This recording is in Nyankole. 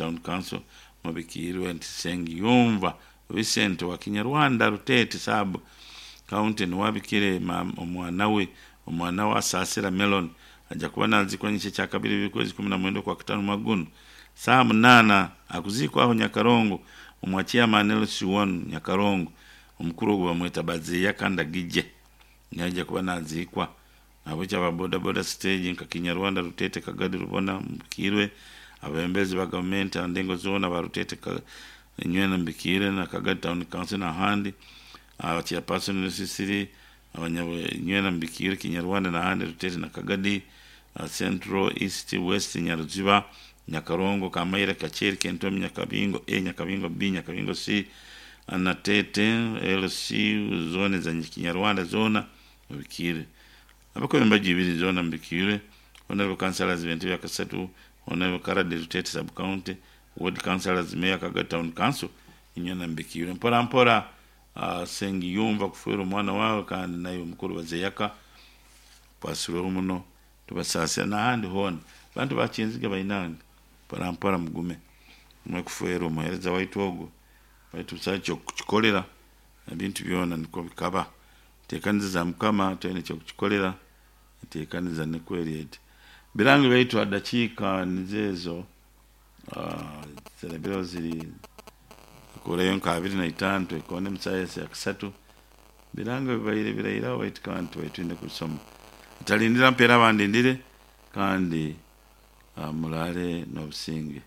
Town Council Mubikiirwe nti Nsengiyumva Vincent owa Kinyarwanda Ruteete Sub County niwe abikire omwana we omwana we Asaasira Melon aja kuba naziikwa nyekyo ekyakabiri ebiri 19 Okwakutaano omwaka gunu saaha munaana akuziikwa aho Nyakarongo omwa Chairman LC1 Nyakarongo omukuru ogwo bamweta Bazeeyaka Ndagije niho aija kuba naziikwa. Nahabwekyo aba boda boda siteegi nka Kinyarwanda, Ruteete, Kagadi, Rubona, Mubikiirwe, abebembezi ba gavumenti aha ndengo zoona aba Ruteete, Nywena, Mubikiirwe na Kagadi Town Council n'ahandi, aba chairperson Rusisiri, abanya Nywena, Mubikiirwe, Kinyarwanda n'ahandi, Ruteete na Kagadi, Central, East, West, Nyaruziba, Nyakarongo, Kamaire, Kakyeri, Kentomi, Nyakabingo A, Nyakabingo B, Nyakabingo C, Nateete, LC, zoona eza Kinyarwanda zoona. Mubikiire. Abakobe embaju ibiri zoona mubikiire, Honourable Councillors b'entebe ya kasatu, Honourable Karade Ruteete Sub County, Ward Councillors, Mayor Kagadi Town Council, inywena mubikiire. Mpora mpora Sengiyumva kufeerwa omwana waawe kandi naiwe mukuru Bazeyaka okwasirweho muno tubasaasira n'ahandi hoona. Bantu ba Kinziga bainange mpora mpora mugume mwe kufeerwa omuheereza waitu ogwo baitu busaho ky'okukikorera ebintu byona nikwo bikaba. Enteekaniza za Mukama twine eky'okukikorera, enteekaniza nikwo eri eti. Birangi byaitu aha dakiika nizo ezo, zirabireho ziri zikuurayo nka 25 twekoone omu saaha ya kasatu. Birango bibaire birairaho baitu kandi tubaire twine kubisoma. Ntalindira mpeera abandindire kandi muraare n'obusinge.